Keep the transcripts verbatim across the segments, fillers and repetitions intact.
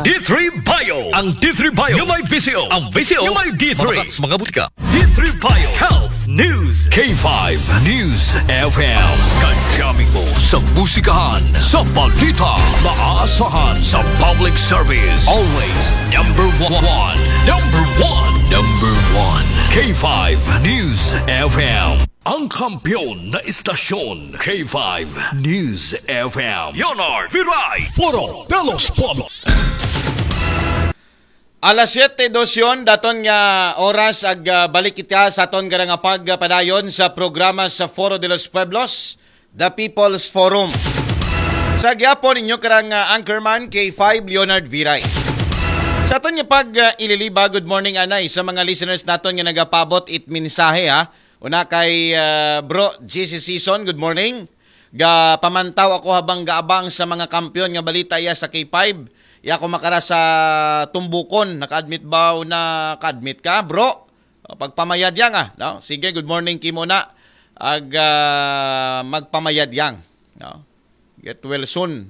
D three Bio. Ang D three Bio yung may V C O. Ang V C O yung may D three. Mga, mga butika. D three Bio Health News. K five News F M. Kajaming mo sa musikahan, sa balita, maasahan sa public service. Always number one. Number one. Number one. K five News F M. Ang kampiyon na istasyon, K five News F M. Leonard Viray. Foro de los Pueblos. Alas siyete dosyon, daton nga oras ag ah, balik kita sa aton gara nga pagpadayon sa programa sa Foro de los Pueblos, The People's Forum. Sa gyapon inyo karang ah, anchorman K five Leonard Viray. Sa aton nga pag ah, ililiba, good morning anay sa mga listeners naton nga nagapabot it mensahe ha. Una kay ah, Bro G C Season, good morning. Ga pamantaw ako habang gaabang sa mga kampiyon nga balita iya sa K five. Iya ko makara sa Tumbukon, naka-admit ba o naka-admit ka, bro? O, pagpamayad yang ah, no? Sige, good morning kimo na. Ag ah, magpamayad yang, no? Get well soon.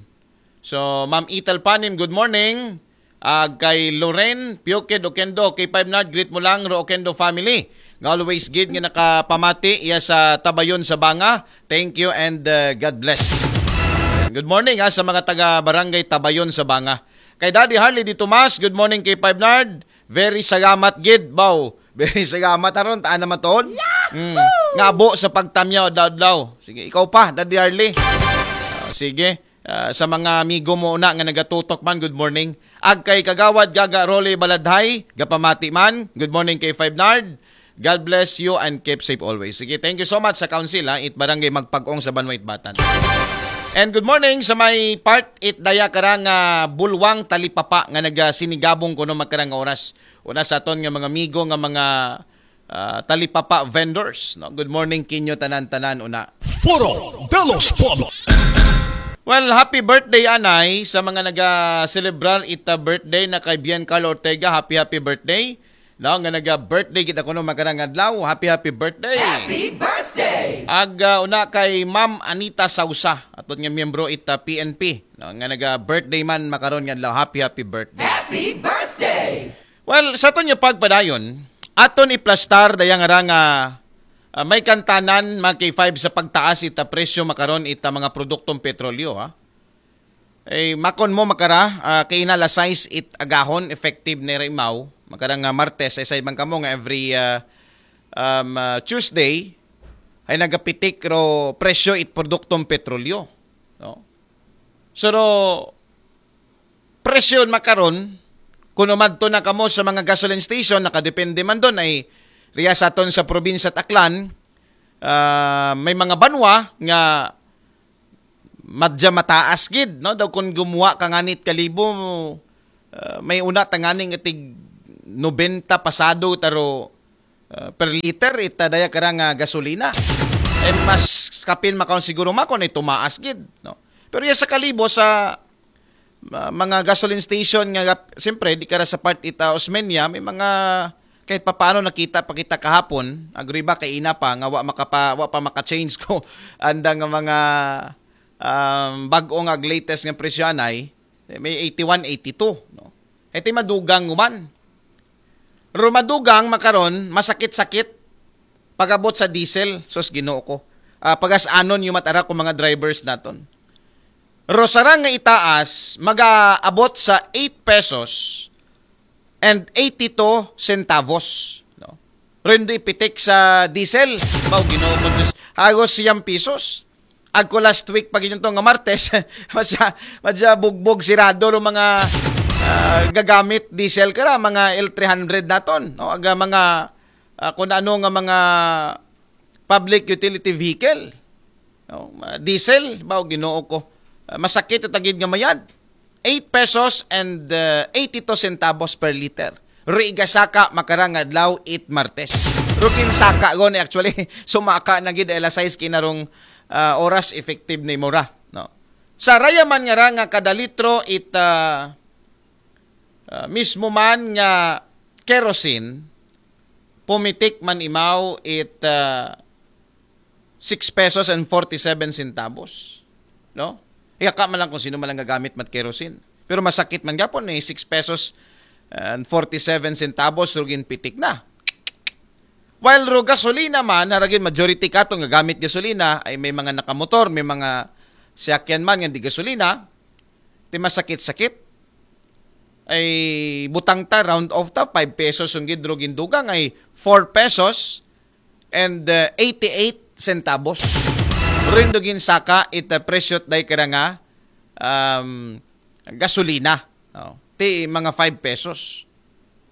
So, Ma'am Ital Panim, good morning. Ag kay Loren Pioked Okendo, K five Nard, greet mo lang ro Okendo family. Nga always gid nga nakapamati iya sa Tabayon sa Banga. Thank you and uh, God bless. Yan. Good morning ha, sa mga taga Barangay Tabayon sa Banga. Kay Daddy Harley Di Tomas, good morning K five Nard. Very salamat gid, baw. Very salamat aron taan naman toon. Mm. Ngabo sa pagtamyaw daw daw. Sige, ikaw pa, Daddy Harley. Ah, sige. Ah, sa mga amigo mo una nga nagatutok man, good morning. Ag kay Kagawad Gaga Rolly Baladhay, gapamati man, good morning kay Five Nard. God bless you and keep safe always. Sige, thank you so much sa council ha, it barangay Magpag-ong sa Banwa Itbatan. And good morning sa may part it daya karang ah, Bulwang Talipapa nga nagasinigabong kuno makarang oras. Una sa aton nga mga amigo nga mga ah, talipapa vendors. No? Good morning kinyo tanan-tanan una. Foro de los Pueblos. Well, happy birthday anay sa mga naga-celebrar ita birthday na kay Bian Carlo Ortega. Happy happy birthday. No, nga naga-birthday kita kuno makarang adlaw. Happy happy birthday. Happy birthday. Ag ah, una kay Ma'am Anita Sausa, aton nga miyembro ita P N P. No, nga naga-birthday man makaron nga adlaw. Happy happy birthday. Happy birthday. Well, sa aton nga pagpadayon, aton iplastar dayang ara nga ah, may kantanan mga K five sa pagtaas ita presyo makaron ita mga produktong petrolyo ha. Eh, makon mo makara, ah, kay ina alas sais it agahon effective ni Rimaw, makara nga Martes, ay sa ibang kamo nga every ah, um, ah, Tuesday ay nagapitik ro presyo it produktong petrolyo. No? So, ro, presyo makaron, kuno madto na kamo sa mga gasoline station, nakadepende man doon ay riya sa aton sa probinsya at Aklan, ah, may mga banwa nga madya mataas gid, no? Daw kung gumuha ka nganit kalibo, ah, may una tanganing itig nobenta pasado taro ah, per liter ita daya karang ah, gasolina. Eh, mas kapin makaon siguro makon ay tumaas gid, no? Pero iya sa kalibo sa ah, mga gasoline station nga gap- siyempre di kara sa part ita Osmeña, may mga kahit papaano nakita pa kita kahapon, agree ba kay ina pa nga wa makapa wa pa maka-change ko anda nga mga um, bag-o nga latest nga presyo anay, may eighty-one, eighty-two, no? Iti madugang man. Rumadugang makaron, masakit-sakit pagabot sa diesel, sus Ginoo ko. Ah, pagas-anon yung matara ko mga drivers naton. Rosarang nga itaas, mag-aabot sa eight pesos and eighty-two centavos, no? Rendo ipitik sa diesel, baw Ginoo ko, Diyos, hagos siyam pesos. Agko last week pag inyo nga Martes, masya, masya bugbog sirado ro mga ah, gagamit diesel kara, mga L three hundred naton, no? Aga mga ah, kung ano nga mga public utility vehicle. No? Ma- Diesel, baw Ginoo ko. Ah, masakit at agid nga mayad. Eight pesos and uh, eighty-two centavos per liter. Riga saka makarang adlaw it Martes. Rukin saka goni actually sumaka na gid alas sais kinarong ah, oras effective ni mura, no? Sa rayaman nga ra nga kada litro it ah, ah, mismo man nga kerosene, pumitik man imaw it ah, six pesos and forty-seven centavos, no? Iyaka man lang kung sino man lang gagamit mat kerosene. Pero masakit man gapon, eh, six pesos and forty-seven centavos ro ginpitik na. While ro gasolina man, haragin majority kato nga gamit gasolina, ay may mga nakamotor, may mga siyakyan man nga di gasolina, ti masakit-sakit. Ay butang ta, round off ta, five pesos ang gid ro gindugang, ay four pesos and uh, eighty-eight centavos. Rin do ginsaka it uh, presyo day kara nga um, gasolina. Oh, ti mga five pesos.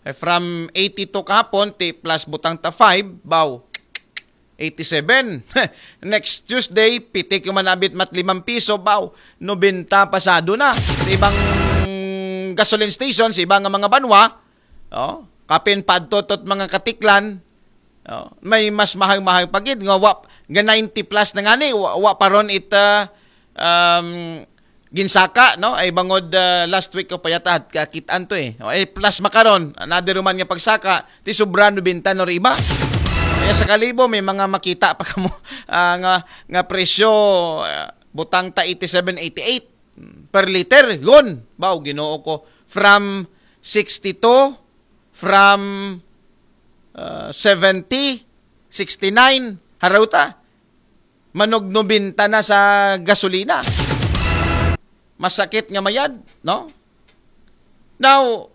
Eh, from eighty-two kahapon, ti plus butang ta five, baw, eighty-seven. Next Tuesday, pitik yung manabit mat limang piso, baw, nobenta pasado na. Sa ibang gasoline station, sa ibang mga banwa, oh, kapin padtotot mga katiklan, oh, may mas mahal-mahal pa gid nga wa, nga ninety plus na nga ni, wa, wa pa ron it uh, um, ginsaka, no? Ay bangod uh, last week ko pa yata at kakitaan to eh. O, eh plus makaron, another man nga pagsaka, ti sobra nobenta no iba. Kaya sa kalibo may mga makita pa kamo uh, nga nga presyo uh, butang ta eighty-seven, eighty-eight per liter. Yun. Baw, Ginoo ko. From sixty-two, from uh, seventy, sixty-nine, haraw ta. Manog nobenta na sa gasolina. Masakit nga mayad, no? Now,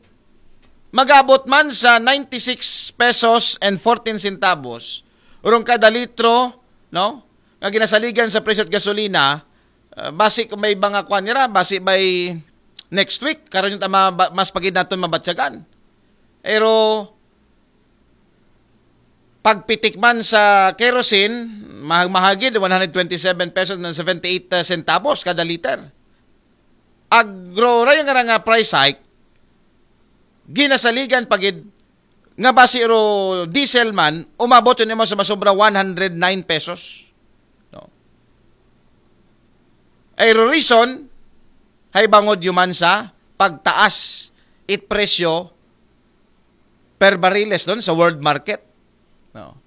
magabot man sa ninety-six pesos and fourteen centavos urong kada litro, no? Nga ginasaligan sa presyo at gasolina, uh, basi kung may mga kwan nira, basi by next week, karon yung tama, mas pagid naton mabatyagan. Pero pagpitik man sa kerosene, mahag-mahagid, one hundred twenty-seven pesos and seventy-eight centavos kada liter. Agro, raya nga nga price hike, ginasaligan pagid nga basi ro diesel man, umabot yun mo sa masobra one hundred nine pesos. No? Ay ro reason, hay bangod yuman sa pagtaas it presyo per bariles doon sa world market. No?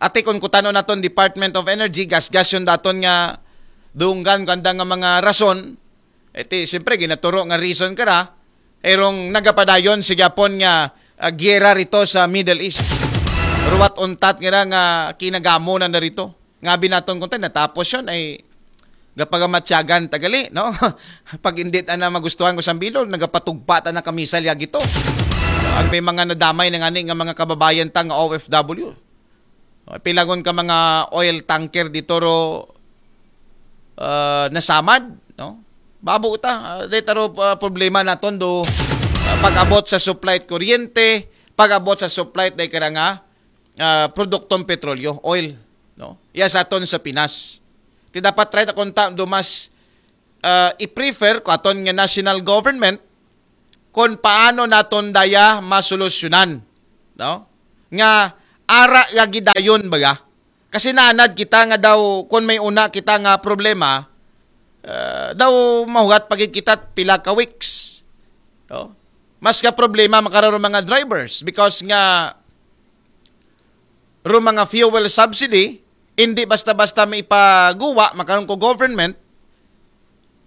Ate, kung kutano naton Department of Energy, gasgas yun daton nga dunggan kanda nga mga rason, iti, siyempre, ginaturo nga reason kara, erong nagapadayon si Japon nga uh, giyera rito sa Middle East. Ruwat untat nga nga kinagamo na narito. Nga binaton kung tayo, natapos yun ay gapagamatyagan tagali, no? Pag hindi ta na magustuhan ko sa bilog, nagapatugpa ta na kamisal yagito. Ang may mga nadamay na ngani nga mga kababayan ta nga O F W. Pilangon ka mga oil tanker dito ro uh, nasamad, no? Babo ta, uh, dito ro uh, problema naton do uh, pag-abot sa supply at kuryente, pag-abot sa supply at dahil nga uh, produktong petrolyo, oil, no? Iya sa aton sa Pinas. Ti dapat try ta kung ta do mas uh, i-prefer ko aton nga national government kung paano naton daya masolusyonan, no? Nga ara nga gidayon baga. Kasi nanad kita nga daw kung may una kita nga problema, uh, daw mahugat pagid kita pila ka weeks. No? Mas ka problema makararo mga drivers because nga ro mga fuel subsidy, hindi basta-basta maipaguwa makaron ko government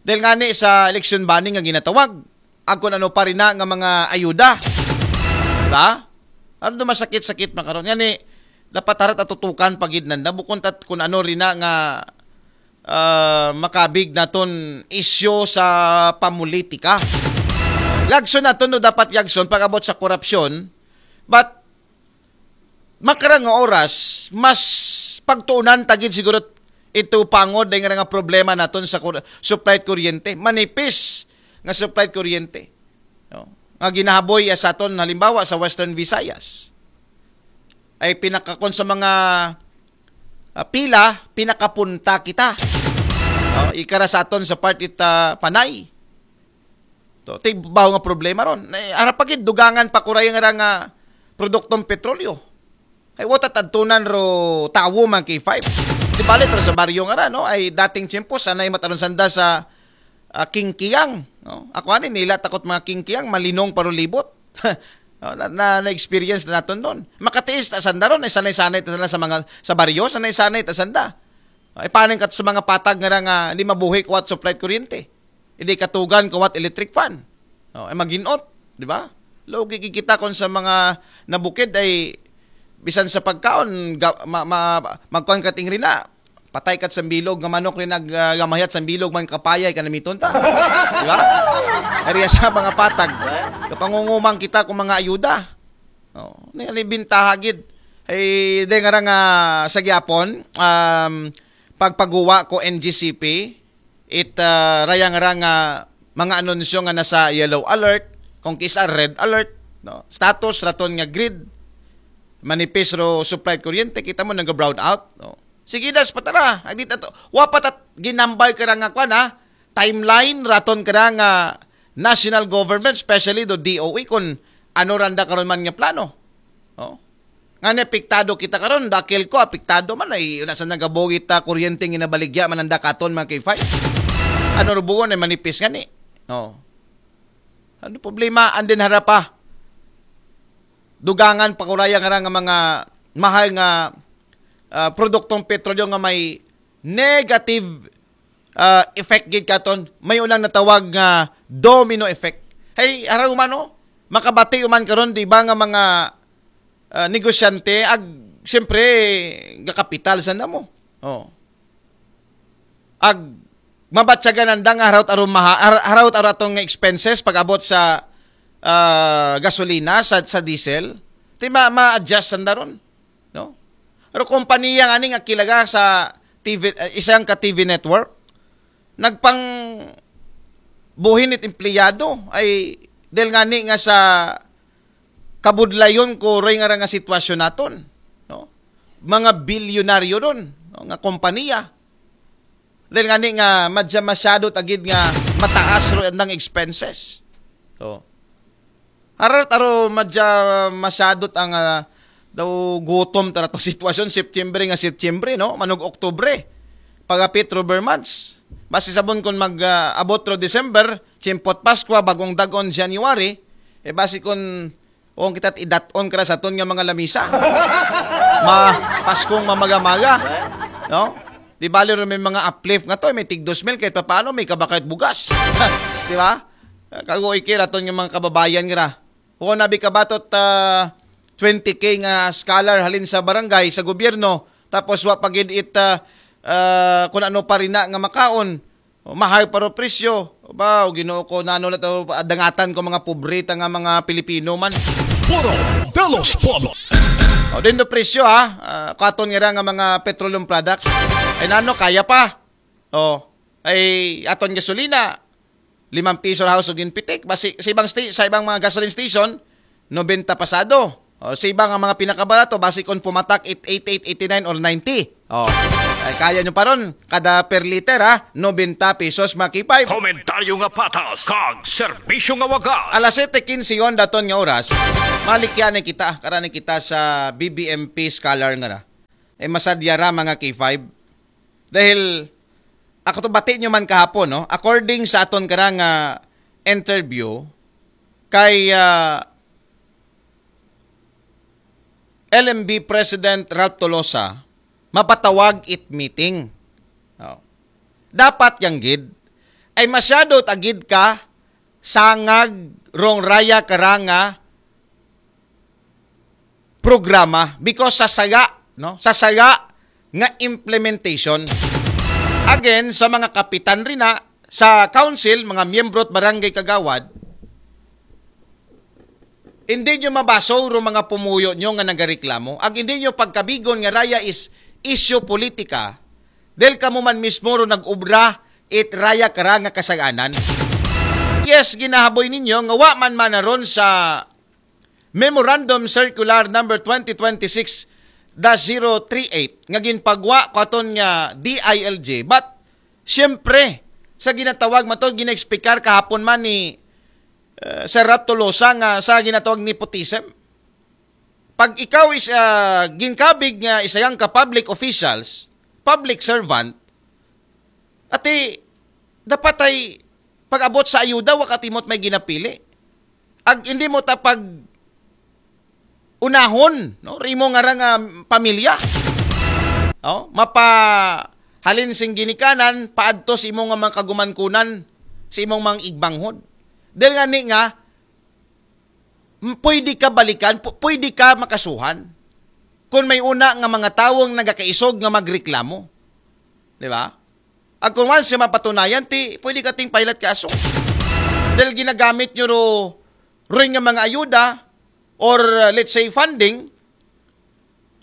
dahil nga ni sa election banning nga ginatawag. Ag kung ano pa rin na nga mga ayuda. Diba? Ano masakit-sakit makaron. Nga ni, dapat harat atutukan pagid nanda. Bukon tat kung ano rin na nga uh, makabig naton isyo sa pamulitika. Lagson naton no dapat yagson pag-abot sa korupsyon. But makarang nga oras, mas pagtuunan tagid siguro ito pangod dahil nga nga problema naton sa kur- supply kuryente. Manipis nga supply kuryente. No? Nga ginahaboy sa aton halimbawa sa Western Visayas. Ay pinakakon sa mga uh, pila, pinakapunta kita. No? Ikara sa aton sa part ita panay. To, ti baho nga problema ron. Ara pa gid dugangan pa kuray nga nga produktong petrolyo. Ay wata tadtunan ro tawo man kay five. Di bali pero sa baryo nga ra, no? Ay dating tiyempo sanay mataron sanda sa uh, kingkiyang, no? Ako ani nila takot mga kingkiyang malinong paro libot. No, na, na, na experience na naton doon. Makatiis ta sanda ron, ay sanay-sanay ta sanda sa mga sa baryo, sanay-sanay ta sanda. Ay paano kat sa mga patag nga nga hindi mabuhi kuwat supply kuryente. Hindi katugan kuwat electric fan. Oh, ay maginot, di ba? Lugi kita kon sa mga nabukid ay bisan sa pagkaon, ga, ma, ma, magkuan ka ting rina, patay kat sa bilog nga manok rin nag, ah, gamahayat sa bilog man kapayay ka namiton ta. Di ba? Ariya sa mga patag. Kapangungumang kita kung mga ayuda. Oh, ni, ni bintaha gid. Ay, de nga ra nga sa gyapon, um, pagpaguwa ko N G C P, it, ah, rayang ra nga mga anunsyo nga nasa yellow alert, kung kisa red alert, no? Status raton nga grid, manipis ro supply kuryente, kita mo nag-brown out, no? Sige das patara, agdi tato. Wa pa tat ginambay ka ra nga kwan, ha? Timeline raton ka ra nga national government, especially do D O E, kung ano randa karon man nga plano. No? Nga ni apektado kita karon, dakil ko apektado man ay una sa nagabugit ta kuryente nga nabaligya man ang dakaton mga K five. Ano rubuon ay manipis nga ni. No. Ano problema? Andin harapa. Dugangan pa kuraya nga ra nga mga mahal nga, ah, produktong petrolyo nga may negative, ah, effect gid katon. May unang natawag nga domino effect. Hey, araw man, no? Makabati uman karon, di ba, nga mga, ah, negosyante, ag, siyempre, gakapital sa namo. Oh. Ag, mabatyagan nanda nga harawt aron maha, har-, harawt aron atong expenses pag abot sa, ah, gasolina, sa, sa diesel. Ti ma, ma-adjust sanda ron, no? Pero kompanya nga ni nga kilaga sa T V, eh, isang ka T V network, nagpang buhin it empleyado ay dahil nga ni nga sa kabudlayon ko roy nga ra nga sitwasyon naton, no? Mga bilyonaryo ron, no, nga kompanya. Dahil nga ni nga madya masyado tagid nga mataas ro andang expenses. So, arar taro madya masyado ang, ah, daw gutom tara to sitwasyon September nga September, no? Manog Oktubre. Pagapit Rubber months. Basi sabon kun mag, ah, abot ro December, chimpot Paskwa, bagong dagon January, eh basi kun kung kita idaton kara sa aton nga mga lamisa. Ma, Paskong mamagamaga. No? Di bali rin may mga uplift nga to, may tig dos mil, kahit paano may kabakayot bugas. Di ba? Kago ikira aton nga mga kababayan nga. Kung nabi kabatot, ah, twenty K nga scholar halin sa barangay, sa gobyerno, tapos wa pagid it, ah, ah, kung ano pa rin na nga makaon, o, mahal pa ro presyo. Ba, o Ginoo ko, nano na to, dangatan ko mga pobreta nga mga Pilipino man. Foro de los Pueblos. O, din do presyo, ha? Ah, katon nga ra nga mga petroleum products. Ay, nano, kaya pa. O, ay, aton gasolina, limang piso ra house o ginpitik. Basi, sa ibang sti-, sa ibang mga gasoline station, nobenta pasado. O, sa iba nga mga pinakabarato, basi kung pumatak it eighty-eight, eighty-nine or ninety. O, ay kaya nyo pa ron, kada per liter ha, nobenta pesos mga K five. Komentaryo nga patas, kag serbisyo nga wagas. Alas siyete quince yon daton nga oras, malikyan na kita, karani kita sa B B M P scholar nga na. Eh, masadya ra mga K five. Dahil, ako to bati nyo man kahapon, no? According sa aton karang, ah, interview, kay, ah, L M B President Ralph Tolosa, mapatawag it meeting. Oh. Dapat yang gid, ay masyado tagid ka sangag rong raya karanga programa because sa saga, no? Sa saga nga implementation. Again, sa mga kapitan rin na, sa council, mga miyembro at barangay kagawad, hindi nyo mabaso ro mga pumuyo nyo nga nagareklamo. Ag hindi nyo pagkabigon nga raya is issue politika, dahil kamo man mismo ro nag-ubra it raya kara nga kasaganan. Yes, ginahaboy ninyo nga wa man manaron sa Memorandum Circular number twenty twenty-six dash zero three eight nga ginpagwa ko aton nga D I L G. But, siyempre, sa ginatawag man to, gina-explicar kahapon man ni, uh, Sir Rap Tolosa nga sa ginatawag nepotism. Pag ikaw is, uh, ginkabig nga isayang ka public officials, public servant, ati, dapat ay pag-abot sa ayuda, wa ka timot may ginapili. Ag hindi mo ta pag unahon, no? Rimo nga ra nga pamilya. Oh, mapa halin sing ginikanan, paadto sa imong nga mga kagumankunan, sa imong mga igbanghod. Dahil nga ni nga, m- pwede ka balikan, pu- pwede ka makasuhan. Kung may una nga mga tawong nagakaisog nga magreklamo. Di ba? At kung once siya mapatunayan, ti, pwede ka ting pailat kaso. Dahil ginagamit nyo ro, rin nga mga ayuda or uh, let's say funding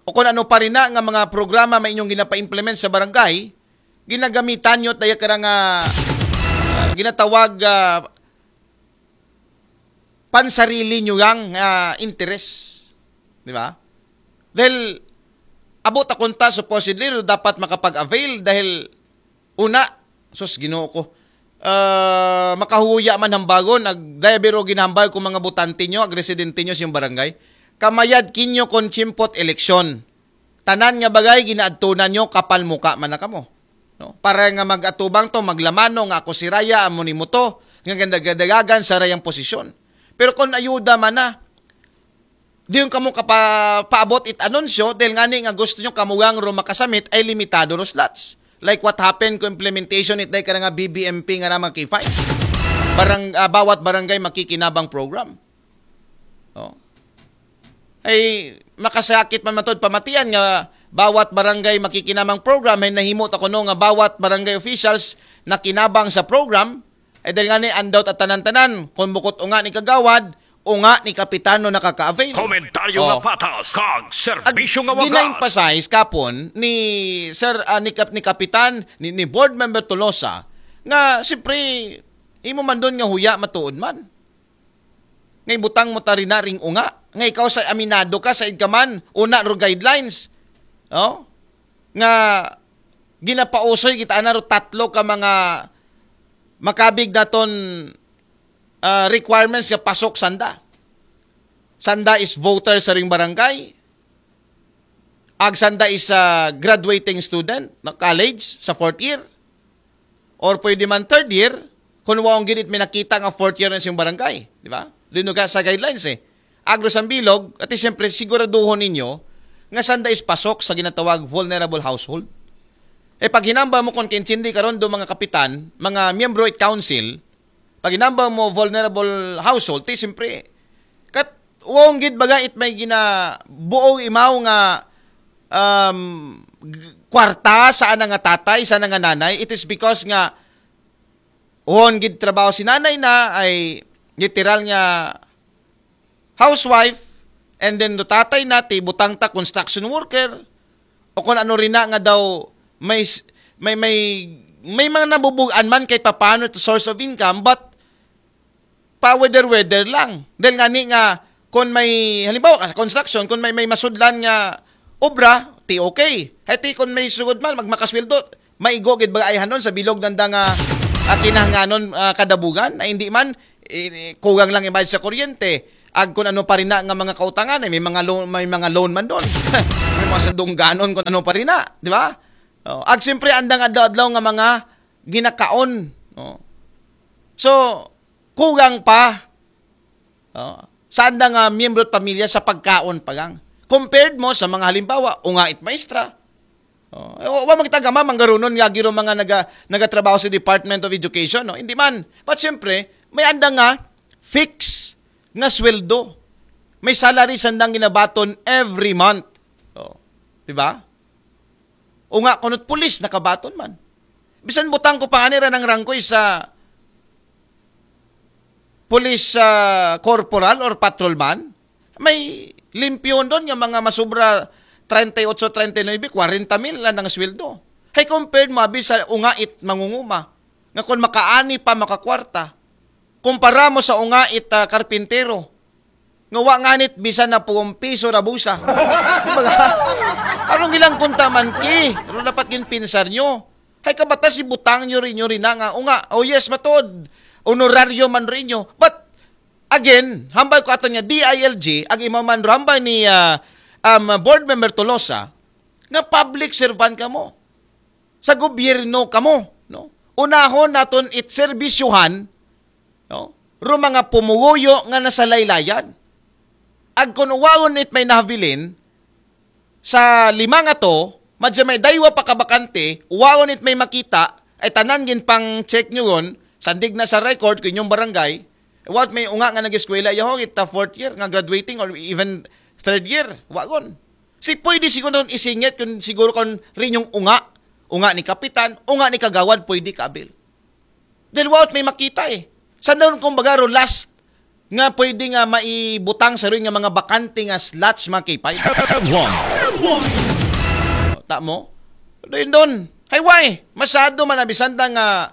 o kung ano pa rin na nga mga programa may inyong ginapa-implement sa barangay, ginagamitan nyo tayo ka nga uh, ginatawag uh, pansarili nyo yang uh, interes. Di ba? Dahil abot akunta supposedly no, dapat makapag-avail dahil una, sus ginoo ko, uh, makahuya man hambagon, ag dayabiro ginahambal kung mga butante nyo, ag residente nyo sa inyong barangay, kamayad kinyo kung chimpot eleksyon. Tanan nga bagay ginaadtunan nyo, kapal muka man na kamo. No? Para nga mag-atubang to, maglamano nga ako si Raya, amo ni mo to, nga gandagadagan sa Rayang posisyon. Pero kung ayuda man na, di yung kamo kapapaabot it anunsyo, dahil nga ni nga gusto nyo kamugang ro makasamit ay limitado ro slots. Like what happened ko implementation it day ka nga B B M P nga na mga K five. Barang, ah, bawat barangay makikinabang program. Oh. Ay makasakit man matod pamatian nga bawat barangay makikinamang program ay nahimo ta kuno nga bawat barangay officials nakinabang sa program ay dahil nga ni andaw ta tanan-tanan kung bukot unga ni kagawad unga ni kapitano nakaka-avail. Komentaryo nga Oh. patas, kag Ag serbisyo nga wagas. Gina-emphasize kapon ni Sir ah, ni, Kap- ni Kapitan ni, ni Board Member Tolosa nga siyempre imo man doon nga huya matuod man. Nga ibutang mo tari na ring unga. Nga ikaw sa aminado ka sa id ka man una ro guidelines. Oh? Nga ginapausoy kita na ro tatlo ka mga makabig naton ah, requirements nga pasok sanda. Sanda is voter sa ring barangay. Ag sanda is a graduating student na college sa fourth year. Or pwede man third year, kung waong ginit may nakita nga fourth year na sa yung barangay. Di ba? Doon nga sa guidelines eh. Agro sa bilog, at siyempre siguraduhon ninyo nga sanda is pasok sa ginatawag vulnerable household. E pag hinamba mo kung kinsindi karon do mga kapitan, mga miyembro it council, pag hinamba mo vulnerable household, ti siyempre, kat wong gid baga it may gina buong imaw nga um, g- kwarta sa ana nga tatay, sa ana nga nanay, it is because nga won gid trabaho si nanay na ay literal nga housewife, and then do tatay na ti butang ta construction worker, o kung ano rin na nga daw may s- may may may mga nabubugan man kahit papaano ito source of income, but pa weather weather lang. Dahil nga ni nga kung may halimbawa ka sa construction, kung may may masudlan nga obra, ti okay. Hati kung may sugod man magmakasweldo, maigo gid ba ay hanon sa bilog nanda nga ah, kinahanganon ah, kadabugan na hindi man eh, kugang lang ibayad sa kuryente. Ag kung ano pa rin na nga mga kautangan, eh, may mga loan, may mga loan man doon. May mga sadungganon kung ano pa rin na, di ba? Oh, ag siyempre andang adlaw-adlaw nga mga ginakaon. Oh. So, kugang pa oh, sa andang ah, miyembro at pamilya sa pagkaon pa gang. Compared mo sa mga halimbawa, unga it maestra, Oh, eh, wa magtagama manggarunon nga giro mga naga, nagatrabaho sa Department of Education, no? Hindi man. But siyempre, may anda nga fix nga sweldo. May salary sandang ginabaton every month. Oh, di ba? O nga kunot pulis nakabaton man. Bisan butang ko pa ani ra ng rangkoy sa police ah, corporal or patrolman, may limpyo doon nga mga masubra treinta y ocho, treinta y nueve, kwarenta mil lang ang sweldo. Hay compared mo abi sa ungait mangunguma nga kung makaani pa makakwarta kumpara mo sa ungait ah, karpintero nga wa nganit bisan na pung piso ra busa. Baga, arong ilang kunta man ki, ano dapat ginpinsar nyo? Hay kabatas si butang nyo rin nyo rin na nga, o nga, oh yes, matod, honoraryo man rin nyo. But, again, hambal ko ato niya, D I L G, ang imaman rambay ni ah, um, board member Tolosa, nga public servant ka mo. Sa gobyerno ka mo. No? Unahon naton it serbisyuhan, no? Ro mga pumuguyo nga nasa laylayan. Ag kun uwaon it may nahabilin, sa lima nga to, madya may daywa pa kabakante, uwaon it may makita, ay tanan gin pang check nyo yun, sandig na sa record ko inyong barangay, What may unga nga nag-eskwela, yaho, kita fourth year nga graduating or even third year, wagon. Si pwede siguro nun isingit kung siguro kung rin yung unga, unga ni kapitan, unga ni kagawad, pwede ka-avail. Dahil what may makita eh. Sa doon kung baga ro last nga pwede nga maibutang sa rin nga mga bakante nga slots, mga K five. Tamo? Doon doon. Hay why? Masyado man abisanda nga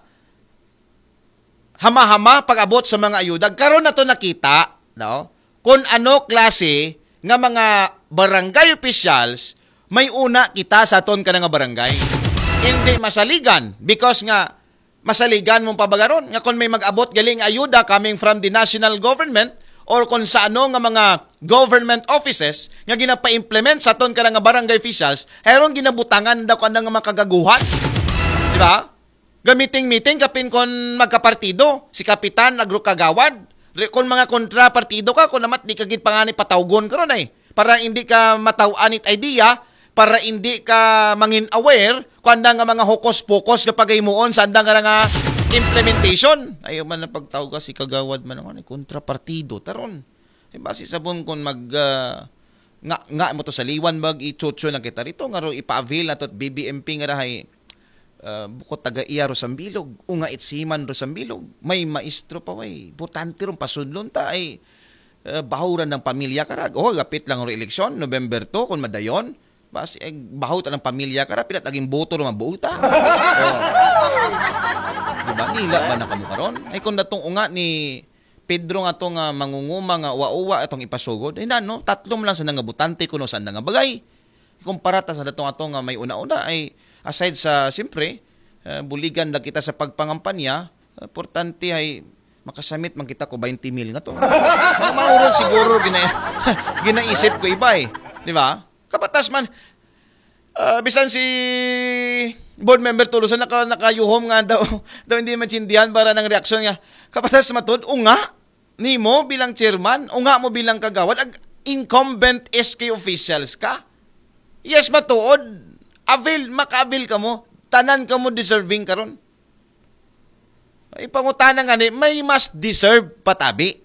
hama-hama pag-abot sa mga ayuda. Karon na to nakita, no? Kung ano klase nga mga barangay officials may una kita sa aton ka nga barangay. Hindi masaligan because nga masaligan mong pabagaron nga kung may mag-abot galing ayuda coming from the national government or kung sa ano nga mga government offices nga ginapa-implement sa aton ka nga barangay officials, hayron ginabutangan daw ka nga makagaguhan. Di ba? Gamiting-miting kapin kon magkapartido, si kapitan, agro kagawad. Re, kon mga kontra partido ka, kon namat di ka gid pangani patawgon karon ay. Para hindi ka mataw-an it idea, para hindi ka mangin aware, kung anda nga mga hokos-pokos nga pagaymuon sa anda nga nga implementation. Ayaw man ang pagtawag ka si kagawad man ang ano, kontra partido. Taron. Ay, base sa bun kon mag, ah, nga, nga mo to sa liwan bag, ichocho na kita rito, nga ro ipa-avail na to at B B M P nga rahay, ah, bukod taga iya ro sambilog, unga itsiman ro sambilog, may maestro pa, way, butante ron, pasunlon ta, ay, ah, bahuran ng pamilya karag. Oh, lapit lang ro eleksyon, November two, kung madayon, bas, eh, bahut ng pamilya karag, pilat aging boto ro mabuta. Oh. Diba? Nila ba na kamu karon? Ay, kung datong unga ni Pedro nga to nga mangunguma nga uwa-uwa atong ipasugod. Ay na, no? Tatlo man lang sa nga butante kuno sa nga bagay. Ikumpara ta sa datong ato nga may una-una ay aside sa, siyempre, eh, buligan lang kita sa pagpangampanya, importante ay makasamit man kita ko twenty mil nga to. Mga mauron siguro gina, ginaisip ko iba eh. Di ba? Kapatas man, ah, bisan si board member Tolosa naka, nakayuhom nga daw, daw hindi maintindihan para ng reaksyon niya. Kapatas matod, unga, nimo bilang chairman, unga mo bilang kagawad, ag incumbent S K officials ka. Yes, matuod. Avail, maka-avail ka mo. Tanan ka mo deserving karon. Ay, pangutana nga ni, may mas deserve patabi.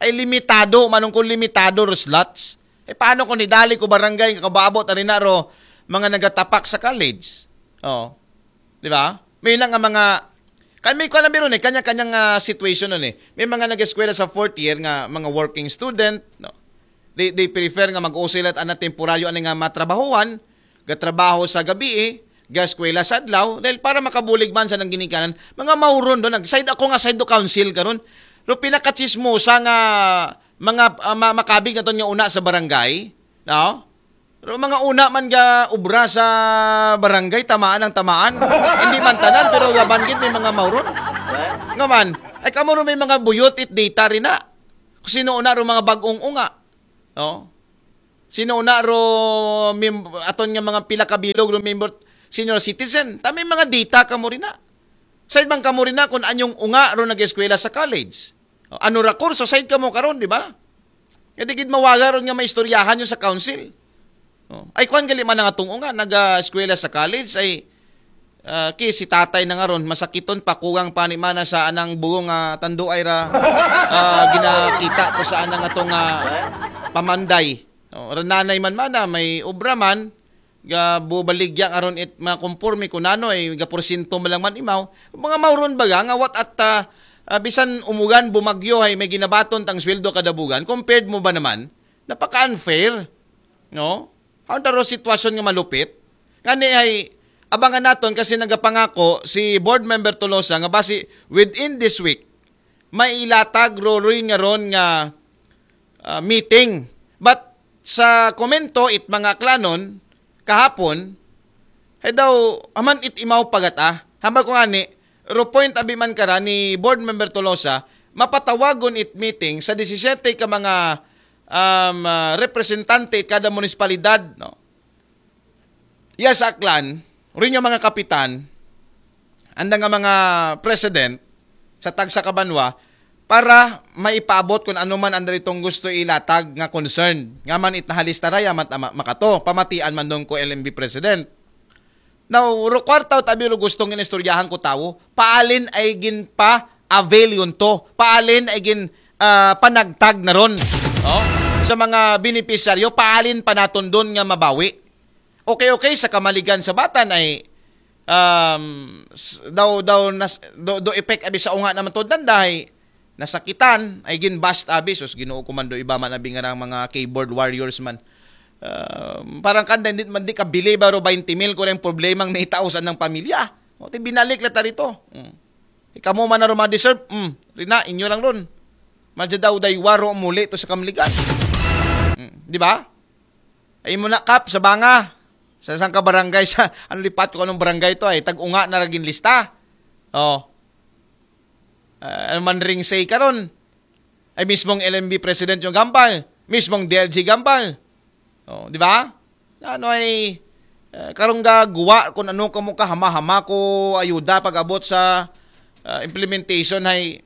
Ay, limitado, manong kung limitado ro slots. Ay, paano kung nidali ko barangay, nga kababot, ari na ro, mga nagatapak sa college? Oh. Di ba? May lang nga mga, kan may kuwan na biro ni, kanya-kanyang ah, situation nun eh. May mga nag-eskwela sa fourth year nga mga working student, no? They, they prefer nga mag-usilat ana temporaryo ani nga matrabahuan, gatrabaho sa gabi eh, gaskwela sa adlaw, dahil para makabulig man sa nang ginikanan, mga mauron doon, nag-side ako nga side do council karon. Pero pinakachismosa nga mga ah, ma- makabig na to nga una sa barangay, no? Pero mga una man ga ubra sa barangay, tamaan ang tamaan. Hindi man tanan, pero gaban gid may mga mauron. Nga man, ay kamo ro may mga buyot it data rin na. Kung sino una ro mga bagong unga. No? Sino una ro mem- aton nga mga pila ka bilog ro member senior citizen. Tama yung mga data kamo rin na. Sa ibang kamo rin na kung anyong unga ro nag-eskwela sa college. O, ano ra kurso, side kamo karon, di ba? Kaya di gid mawaga ron nga maistoryahan yung sa council. O, ay, kuwan gali man ang atong unga, nag-eskwela sa college, ay ah, ki si tatay na nga ron, masakiton pa, kugang pa ni mana sa anang bugong ah, tanduay ra ah, ginakita ko sa anang atong ah, pamanday. O, rananay man mana, may obra man, ga bubaligya nga ron it mga konporme kung nano ay ga porsyento man lang man imaw. Mga mauron baga nga what at ah, ah, bisan umugan, bumagyo ay may ginabaton tang sweldo kada bugan, compared mo ba naman? Napaka-unfair, no? Ang taro sitwasyon nga malupit. Ngani ay abangan naton kasi nagapangako si Board Member Tolosa nga basi within this week, may ilatag ro rin nga ron nga ah, meeting. But sa komento it mga Aklanon kahapon, hay daw, aman it imaw pagata. Hambal ko ngani, ro point abi man kara ni Board Member Tolosa, mapatawagon it meeting sa disisiete ka mga um, ah, representante it kada munisipalidad, no? Iya sa Aklan, rin yung mga kapitan, anda nga mga president sa tagsa ka banwa para maipaabot kung ano man ang daritong gusto ilatag nga concern. Nga man it nahalista ra, yaman ta ma- makato, pamatian man doon ko L M B president. Now, ro kwartaw tabi ro gustong inistoryahan ko tawo, paalin ay ginpa avail yun to. Paalin ay gin ah, panagtag na ron, no? Sa mga benepisyaryo, paalin pa naton dun nga mabawi. Okay, okay, sa kamaligan sa batan ay um, s- daw daw nas, do, do effect abi sa unga naman to dandahay nasakitan ay ginbast abi. Sus, Ginoo ko man, do iba man abi nga mga keyboard warriors man. Um, parang kanda hindi man di kabili baro twenty mil ko yung problemang naitausan ng pamilya. O, ti binalik la ta rito. Mm. Ikaw mo man na ron ma-deserve, mm, rina, inyo lang ron. Madya daw day waro muli to sa kamaligan. Mm, di ba? Ay mo na, Kap, sa banga. Sa isang ka barangay sa, ano, lipat ko anong barangay to ay, tag-unga na ragin lista. Oh. Ah, ano man ring say karon? Ay mismong L M B president yung gambal. Mismong D L G gambal. Oh, di ba? Ano ay, eh, karong gagawa kung ano ka mo kahama-hama ko ayuda pag-abot sa ah, implementation ay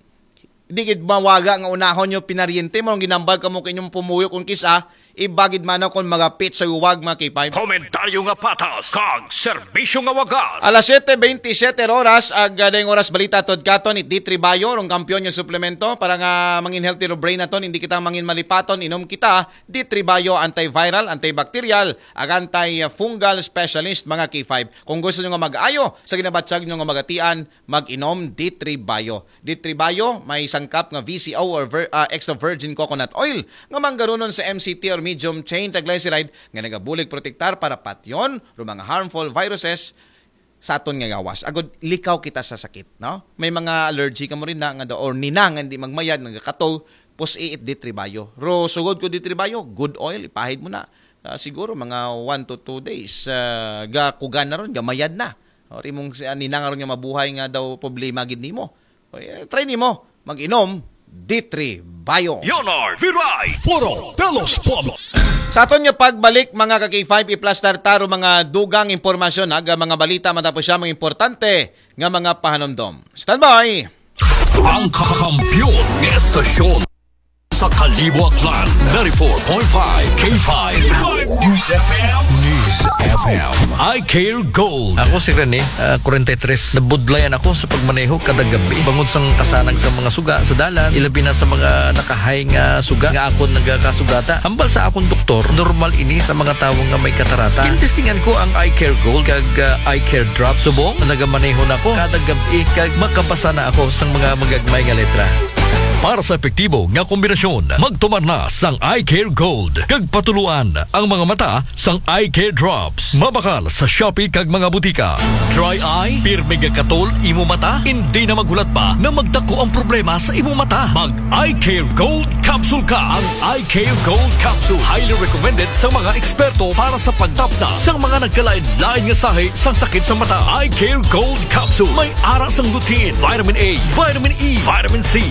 di gid mawaga nga unahon nyo pinaryente mo ang ginambal ka mo kinyong pumuyo kung kisa ibagid man ako magapit sa uwag mga K five. Komentaryo nga patas kag serbisyo nga wagas. Alas siyete bentisiete oras ag ah, dayong oras balita tod katon it D three Bio rong kampiyon yung suplemento para nga mangin healthy ro brain naton, hindi kita mangin malipaton, inom kita D three Bio antiviral, antibacterial, ag antifungal specialist mga K five. Kung gusto nyo nga mag-ayo sa ginabatyag nyo nga magatian, mag-inom D three Bio. D three Bio may sangkap nga V C O or vir- ah, extra virgin coconut oil nga manggarunon sa M C T or medium chain triglyceride nga nagabulig protektar para patyon ro mga harmful viruses sa aton nga gawas. Agod likaw kita sa sakit, no? May mga allergy ka mo rin na nga daw or nina nga hindi magmayad, nagakatog, pus-i it D three Bio. Ro sugod ko D three Bio, good oil, ipahid mo na. Ah, siguro mga one to two days, ah, gakugan na ron, gamayad na. O, rimong si Nina nga ron nga mabuhay nga daw problema gid nimo. O, eh, try nimo, mag-inom D three Bio. Leonard Viray, Puro Pelos Pobos. Sa aton nga pagbalik, mga ka-K five, iplastar taro mga dugang impormasyon, aga mga balita, matapos siya mga importante nga mga pahanumdom. Standby! Ang kakampiyon ng estasyon sa Kalibo Aklan, ninety-four point five K five News F M. News F M. I Care Gold. Ako si Rene, ah, forty-three. Nabudlayan ako sa pagmaneho kada gabi. Bangod sang kasanag sa mga suga sa dalan, ilabi na sa mga nakahay nga suga nga akon nagakasugata. Hambal sa akong doktor, normal ini sa mga tawo nga may katarata. Gintestingan ko ang I Care Gold kag ah, I Care Drop. Subong, nagamaneho na ko kada gabi kag makabasa na ako sang mga magagmay nga letra. Para sa epektibo nga kombinasyon, magtumar na sang I Care Gold kag patuluan ang mga mata sang I Care Drops. Mabakal sa Shopee kag mga butika. Dry eye, pirmi nga katol imo mata, hindi na maghulat pa na magdako ang problema sa imo mata. Mag I Care Gold Capsule ka. Ang I Care Gold Capsule highly recommended sa mga eksperto para sa pagtapna sa mga nagkalain-lain nga sahi sang sakit sa mata. I Care Gold Capsule may ara sang lutein, vitamin A, vitamin E, vitamin C,